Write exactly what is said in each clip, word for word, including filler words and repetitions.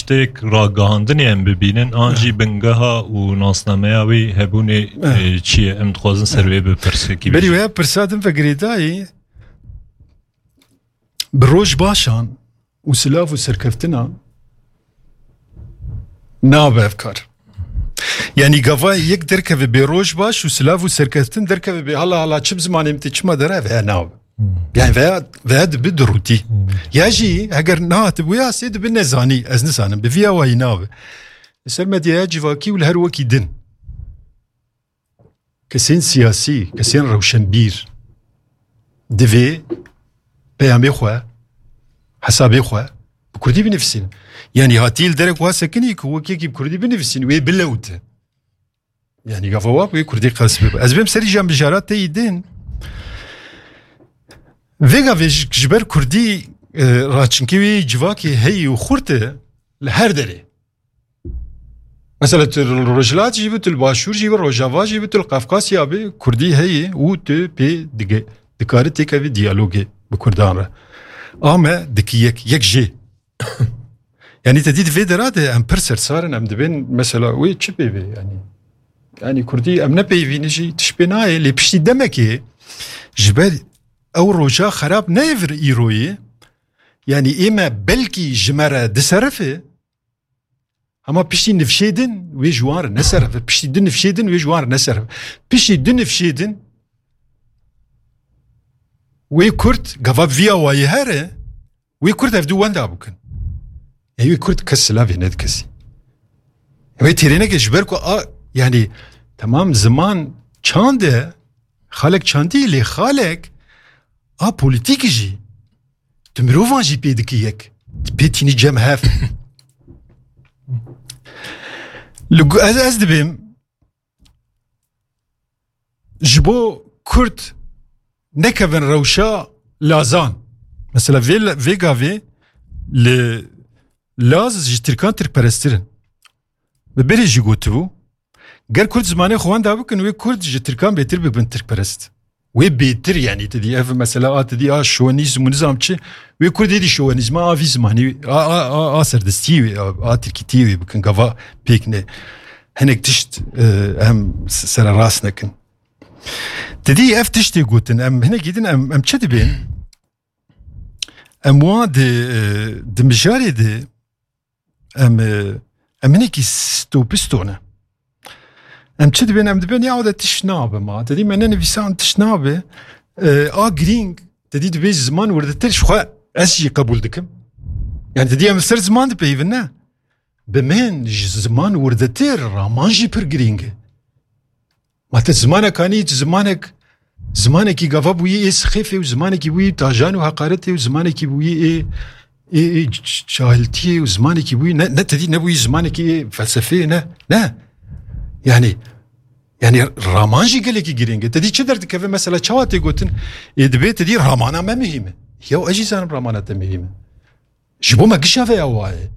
Têk ragihandinê em bibînin, an jî bingeha û nasnameya wî hebûnê, eh, çi ye? Em dixwazin ser wê bi pirsekî Berî bêjin. Wê pirsa din ve girêdayî, bi roj başan û silav û serkeftinan nabe ev kar. Yanî gava yek derkeve bê roj baş û silav û serkeftin derkeve bê hala hala çi bi zimanê min tê çima dere, ev heye nabe. Hmm. Yani veya, veya dibi durûtî. Hmm. Ya jî heger nehatibûya sê dibi nezanî, ez nizanim, bi vî awayî nabe. Li ser medyaya civakî û li her wekî din. Kesên siyasî, kesên rewşenbîr divê peyamê xwe, hesabê xwe bi kurdî binivîsîn. Yani hatî li derek wa sekinî ku wek yekî bi kurdî binivîsîn, wê bilewte. Yani gava wa wê kurdî qels bibe. Ez bêm serî jan bijara te yî din. Vêga vê ji, ji ber kurdî, e, raçinkê wê civakê heyî û xurt e li her derê. Mesela tu li Rojhilat jî bi, tu li Başûr jî bi, Rojava jî bi, tu li Qafkasya bi, kurdî heyî û tu pê dige, dikare têkevî diyalogê bi kurdan re. Ame dikî yek, yek jê. Yani te dî di vê dera de em pir sersar in, em dibên mesela wê çi pê bê yani. Yani kurdî em ne peyvî ne jî tiş pê nayê, lê piştî demekê ji ber ew roja xerab neyê vir îroyê. Yani ê me belkî ji me re diserife, hema piştî nifşê din wê ji wan re neserife, piştî du nifşê din wê ji wan re neserife. Piştî du nifşê din wê kurd gava vî awayî here, wê kurd ev du wenda bikin. Ê wê kurd kes silavê nedi kesî. Wê têrê neke ji ber ku a, yani, temam ziman çand e, xalek çandî lê xalek a polîtîkî jî. Tu mirovan jî pê dikî yek. Tu pê tînî cem hev. Li gu-, ez, ez dibêm ji bo Kurd nekevin rewşa lazan. Mesela vê, vê gavê li Laz ji Tirkan Tirkperestir in. Bi berê jî gotibû, ger Kurd zimanê xwe wenda bikin, wê Kurd ji Tirkan bêtir bibin Tirkperest. Wê bêtir, yani, tu dî ev mesela a, tu dî a şovenîzm û nizam çi, wê Kurd êdî şovenîzma a vî zimanî, a, a, a, a serdestiyê wê, a, a tirkîtiyê wê bikin, gava pêk ne. Hinek tişt, e, em s-, sererast nekin. Tu dî ev tiştê gotin, em hinekî din em, em çi dibên? Em wan di, e, di mijarê de em, e, em hinekî stopisto ne. Em çi dibên? Em dibên ya de tişt nabe ma. Te dî me nenivîsan tişt nabe. E, a girîng, te dî dibê ziman wirdetir ji xwe ez jî qebûl dikim. Yani te dî em li ser ziman dipeyivin ne. Bi min ji ziman wirdetir raman jî pir girîng e. Ma te zimanek anî, zimanek, zimanekî gava bûyî ê sixêfê û zimanekî bûyî tajan û heqaretê û zimanekî bûyî ê, ê, ê c-, c-, cahiltiyê û zimanekî bûyî ne, ne te dî nebûyî zimanekî ê felsefeyê ne, ne. Yani, yani raman jî gelekî girîng e. Te dî çi derdikeve mesela çawa tê gotin? Ê dibê te dî ramana me muhîm e. Ya ez jî zanim ramana te muhîm e. Ji bo me gişa veya waye.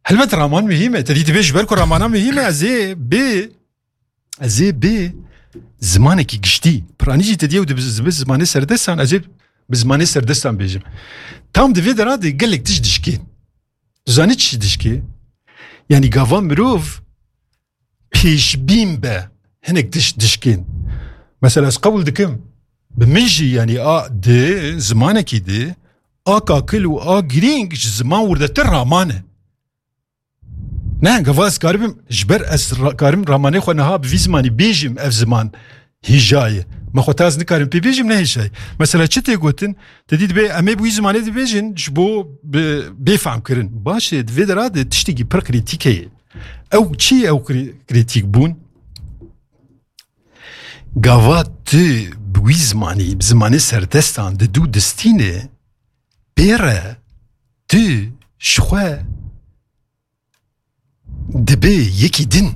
Helbet raman muhîm e. Te dî dibê ji ber ku ramana muhîm e, ez ê bê, ez ê bê zimanekî giştî. Piranî jî te dî ew dibi, dibi zimanê serdestan, ez ê bi zimanê serdestan bêjim. Tam di vê dera de gelek tişt dişkên. Tu zanî çi dişkê? Yanî gava mirov pêşbîn be hinek tişt dişkên. Mesela ez qebûl dikim. Bi min jî, yanî a di zimanekî di a kakil û a girîng ji ziman wirdetir raman e. Ne, gava ez karibim, ji ber ez ra-, karim ramanê xwe niha bi vî zimanî bêjim, ev ziman hêja ye. Me xwe ta ez nikarim pê bêjim, ne hêja ye. Mesela çi tê gotin? Te dî dibê em ê bi wî zimanê dibêjin, ji bo bi, bê fehm kirin. Baş e, di vê dera de tiştekî pir krîtîk heye. Ew çi ye ew krî-, krîtîk bûn? Gava tu bi wî zimanî, bi zimanê serdestan di dû distîne, pê re tu ji xwe dibê yekî din.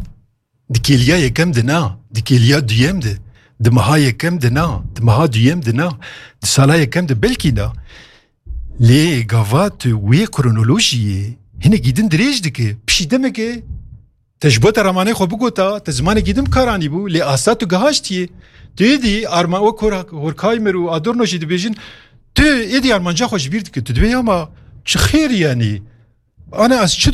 Di kêliya yekem de na, di kêliya duyem de, di meha yekem de na, di meha duyem de na, di sala yekem de belkî na. Lê gava tu wê kronolojiyê hinekî din dirêj dike, pişî demeke te ji bo te ramanê xwe bigota, te zimanekî din bi kar anîbû, lê asta tu gihaştiyê. Tu êdî arma-, wek Hor-, Horkheimer û Adorno jî dibêjin, tu êdî armanca xwe ji bîr dike. Tu dibê ya ma çi xêr yanî? Ana ez çi